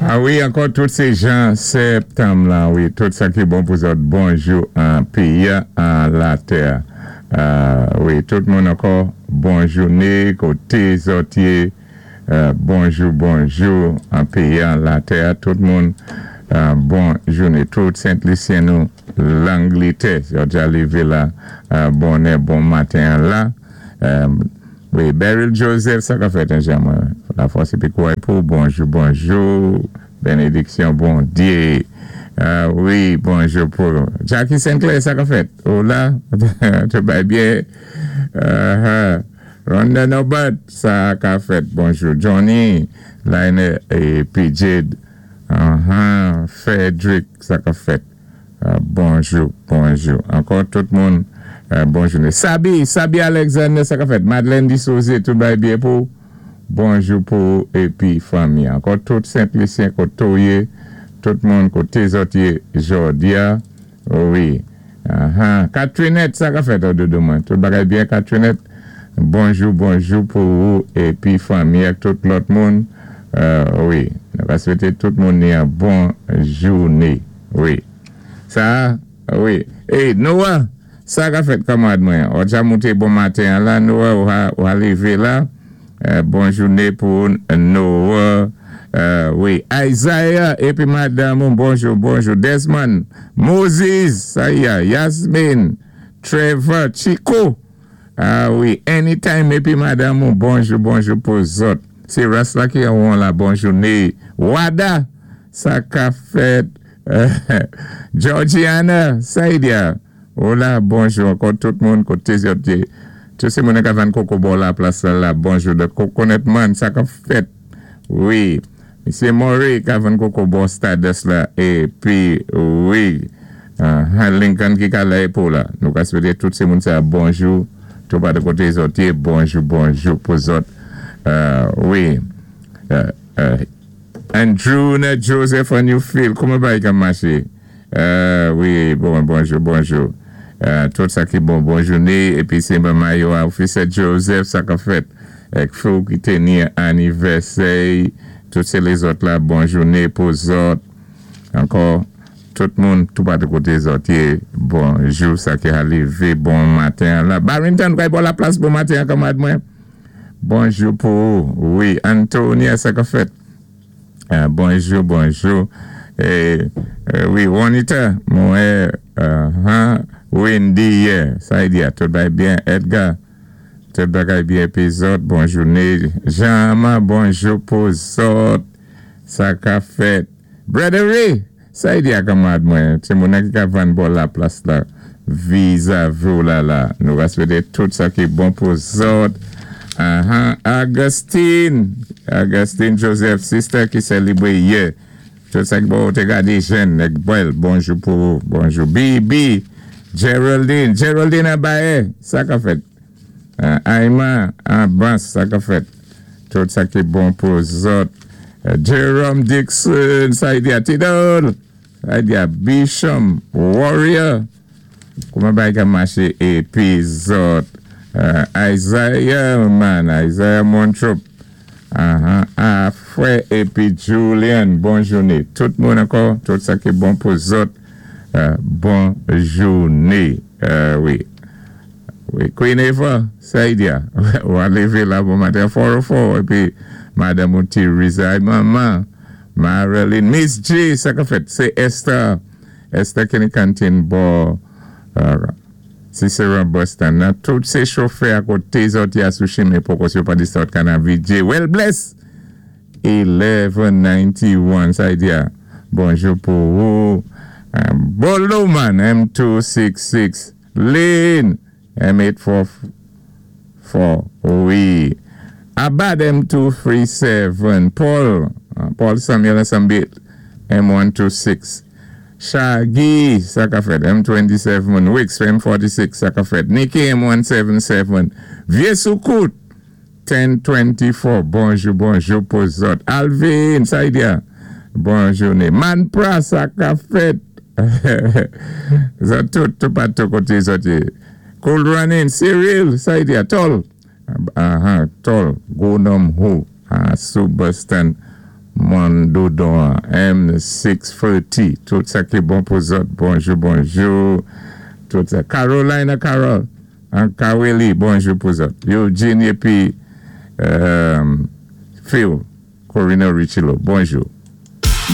A wi, ankò tout sé jan sèptanm lan wi, tout sa ki bon pou zòt, bonjou an péyi an latè wi, tout moun ankò bon jouné koté zòt yé, bonjou bonjou an péyi an latè tout moun bon jouné, tout Sent Lisyen nou Langlitè zòt dja lévé la bonè bon maten an la. Wi Beryl Joseph sa kap fèt anjan mwen la fòs epi kouray pou ou bonjou bonjou benediksyon Bondye wi bonjou pou Jacky Sinclair sa kap fèt ou la tout bagay byen Ronda Nobert sa kap fèt bonjou Johnny Laine epi Jade Frederick sa kap fèt. Bonjou bonjou ankò tout moun bon jounen Sabi Sabi Alexander sa kap fèt Madeleine Disose tout bagay byen pou ou bonjou pou ou epi fanmi ankò tout Sent Lisyen kote ou ye tout moun kote zòt ye jòdia wi ahan Katrinette sa kap fèt doudou mwen tout bagay byen Katrinette bonjou bonjou pou ou epi fanmi ak tout lòt moun wi nou va swete tout moun ni an bon joune. Wi sa wi ey Noah sa ka fèt kanmarad mwen an dja moute bon maten an la Noah ou ha leve la bon joune pou ou Noah wi Isaiah epi madanm ou bonjou bonjou Desmond Moses sa ya Yasmine Trevor Chico ah wi Anytime epi madanm ou bonjou bonjou pou zòt se ras la ki anwon la bon joune Wada Sa ka fèt Georgiana Saidia Hola bonjou ankò tout moun kote zòt ye tout se moun ka vann koko bò la plas la la bonjou the coconut man sa kap fèt wi misye Murray ka vann koko bò stardust la epi wi Lincoln ki ka la epo la nou ka swete tout se moun sa bonjou tou pa de kote zòt ye bonjou bonjou pou zòt wi. Andrew nè Joseph on you feel kouman bagay ka maché wi bon bonjou bonjou tout sa ki bon bon jouné epi se mayo a ofisè Joseph sa kap fèt ek fou ki te ni anivèsè tout se lezòt la bon jouné pou zòt ankò tout moun tou patou koté zòt yé bonjou sa ki ha levé bon maten an la Barrington kay bò la plas bon maten an kanmarad mwen. Bonjou pou ou wi Antonia sa kap fèt bonjou bonjou wi Juanita mwen wè han Wendy yè sa li di a tout bagay byen Edgar tout bagay byen epi zòt bon joune Jean Armand bonjou pou zòt sa kap fèt Brother Ray Sa li di a kanmarad mwen, timoun nan ki ka vann bò laplas la vizavi w la la. Nou va swete tout sa ki bon pou zòt. Ahan Augustine! Augustine Joseph, sister ki selibre yè. Tout sa ki bon ou te gade jèn nèg bèl. Bonjou pou ou. Bonjou BB! Geraldine! Geraldine Abaye! Sa k ap fèt? Ayman Abbas sa kap fèt? Tout sa ki bon pou zòt. Jerome Dixon sa li di a Tidol sa li di a Bishom Warrior kouman bagay ka mache epi zòt Isaiah man Isaiah Montrop ahan a frè epi Julian bon joune tout moun ankò tout sa ki bon pou zòt bon joune wi. Wi Queen Eva, Saidia, ou a leve la bon maten 4:04 epi madanm ou Theresa ay manman Marilyn Miss G sa kap fèt se Esther Esther Kenny Canteen bò Ciceron bus stand nan tout se chofè a kote zòt ya sou chimen poko si yo pa di sòt kanavi J well bless 1191 Saidia bonjou pou ou Bolo man M266. Lynn M844 wi Abad M237 Paul Paul Samuel ansanm Bill M126 Shaggy sa ka fèt M27 Wicks M46 sa ka fèt Nicky M177 Vye Soukout 10:24 bonjou bonjou pou zòt Alvin sa li di a bon joune Manpra sa ka fèt zòt tout toupatou kote zòt ye Cool running Cyril sa li di a tòl ahan tòl gwo nonm hoo a sou bus stand. Mòn Dodon, M640, tout sa ki bon pou zòt. Bonjou, bonjou. Tout sa. Carolina Carol, an Kaweli, bonjou pou zòt. Eugene épi Phil, Corina Richilo, bonjou.